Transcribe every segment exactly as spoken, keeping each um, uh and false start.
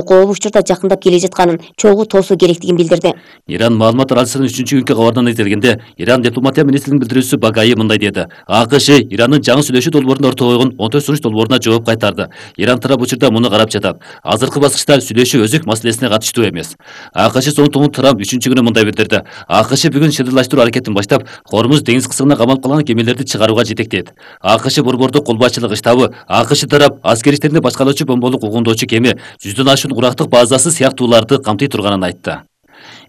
кооп учурда жакындап келе жатканын чогуу тоосуу керектигин билдирди. Иран маалымат аралшысынын үчүнчү күнкү кабарынан айтылганда, Иран дипломатия министринин билдирүүсү Багаи мындай деди: АКШ Ирандын жаңы сүйлөшүү долбоорунда ортого койгон он төрт сунуш долбооруна жооп кайтарды. Иран тарап учурда муну карап жатат. Азыркы баскычта сүйлөшүү өзөк маселесине катыштуу эмес. АКШ соңтугун Трамп үчүнчү күнү мындай билдирди: АКШ бүгүн шылдырлаштыруу аракетин баштап, Хормуз деңиз кысымына камалып калган кемелерди чыгарууга жетектейт. АКШ борбордук кол башчылыгы штабы АКШ тарап аскер иштеринде башкалоочу бомболук угундоочу кеме, жүздөн ашуун урактык базасы сыяктууларды камтый турганын айтты.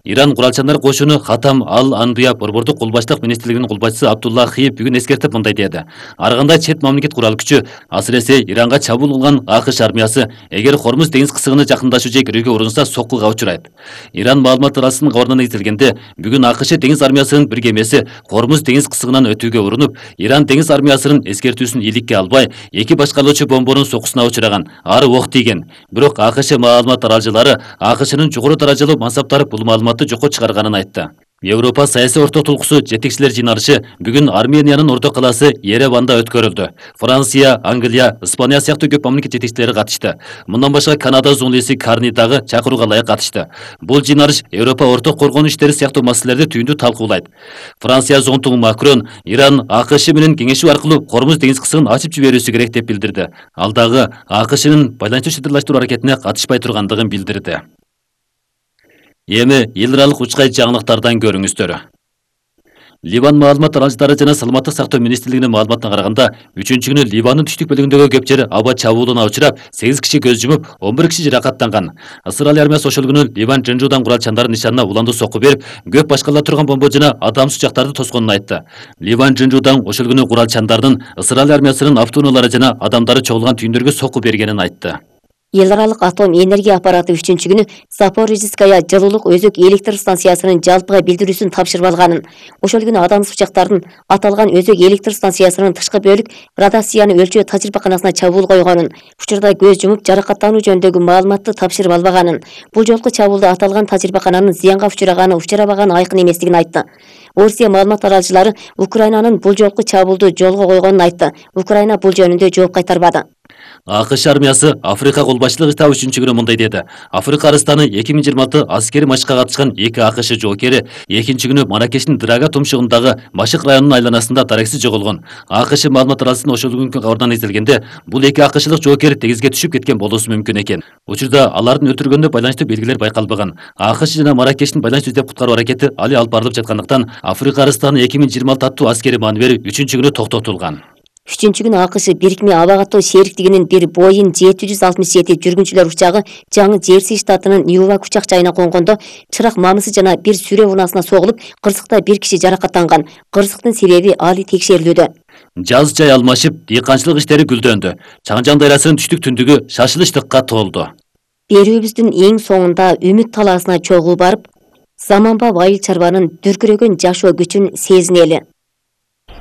Иран куралчандар кошуну Хатам ал-Анбия борбордук колбаштык министрлигинин колбашчысы Абдулла Хиев бүгүн эскертип мындай деди: ар кандай чет мамлекет курал күчү, асыресе Иранга чабуул кылган АКШ армиясы эгер Хормуз деңиз кысыгына жакындашуу же кирүүгө урунса соккуга учурайт. Иран маалымат аралшысынын кабарынан айтылганда, бүгүн АКШ деңиз армиясынын бир кемеси Хормуз деңиз кысыгынан өтүүгө урунуп, Иран деңиз армиясынын эскертүүсүн ийгиликке албай, эки башкалоочу бомбонун соккусуна учураган, ары ок тийген. Бирок АКШ маалымат аралчылары АКШнын жогору даражалуу мансаптары бул маалыматты жокко чыгарганын айтты. Европа саясий орто толкусу жетекчилер жыйналышы бүгүн Армениянын орто калаасы Ереванда өткөрүлдү. Франция, Англия, Испания сыяктуу көп мамлекет жетекчилери катышты. Мындан башка Канада зоолиси Карни дагы чакырууга ылайык катышты. Бул жыйналыш Европа орто коргонуу иштери сыяктуу маселелерди түйүндүү талкуулайт. Франция зонтугу Макрон Иран АКШ менен кеңешүү аркылуу Хормуз деңиз кысыгын ачып жиберүүсү керек деп билдирди. Ал дагы АКШнын байланыштуу шылдырлаштыруу аракетине катышпай тургандыгын билдирди. Эми эл аралык учкай жаңылыктардан көрүңүздөр. Ливан маалымат аралчылары жана саламаттык сактоо министрлигинин маалыматына караганда, үчүнчү күнү Ливандын түштүк бөлүгүндөгү көп жер аба чабуулуна учурап, сегиз киши көз жумуп, он бир киши жаракаттанган. Ысырайыл армиясы ошол күнү Ливан Жынжуудан куралчандардын нишанына уландуу сокку берип, көп башкала турган бомба жана адамсыз учактарды тосконун айтты. Ливан Жынжуудан ошол күнү куралчандардын Ысырайыл армиясынын автоунаалары жана адамдары чогулган түйүндөргө сокку бергенин айтты. Эл аралык атом энергия аппараты үчүнчү күнү Запорожская жылуулук өзөк электр станциясынын жалпыга билдирүүсүн тапшырып алганын, ошол күнү адамсыз учактардын аталган өзөк электр станциясынын тышкы бөлүк радиацияны өлчөө тажрыйбаканасына чабуул койгонун, учурда көз жумуп жаракаттануу жөнүндөгү маалыматты тапшырып албаганын, бул жолку чабуулда аталган тажрыйбакананын зыянга учураганы учурабаганы айкын эместигин айтты. Орусия маалымат аралчылары Украинанын бул жолку чабуулду жолго койгонун айтты. Украина бул жөнүндө жооп кайтарбады. АКШ армиясы Африка кол башчылыгы штабы үчүнчү күнү мындай деди: Африка Арыстаны эки миң жыйырма алты аскери матчка катышкан эки АКШ жоокери экинчи күнү Маракештин Драга тумшугундагы Башык районунун айланасында дарексиз жоголгон. АКШ маалымат аралшысынын ошол күнкү кабарынан айтылганда, бул эки АКШлык жоокер деңизге түшүп кеткен болуусу мүмкүн экен. Учурда алардын өлтүргөнүнө байланыштуу белгилер байкалбаган. АКШ жана Маракештин байланыш издеп куткаруу аракети али алып барылып жаткандыктан, Африка Арыстаны эки миң жыйырма алты аттуу аскери маневри үчүнчү күнү токтотулган. Үчүнчү күнү АКШ бирикме аба каттоо шериктигинин бир Боeing жети жүз алтымыш жети жүргүнчүлөр учагы жаңы Джерси штатынын Ньювак учак жайына конгондо чырак мамысы жана бир сүрө унаасына согулуп, кырсыкта бир киши жаракаттанган. Кырсыктын себеби али текшерилүүдө. Жаз жай алмашып, дыйканчылык иштери гүлдөндү. Чаңжан дайрасынын түштүк түндүгү шашылычтыкка толду. Берүүбүздүн эң соңунда үмүт талаасына чогуу барып, заманбап айыл чарбанын дүркүрөгөн жашоо күчүн сезинели.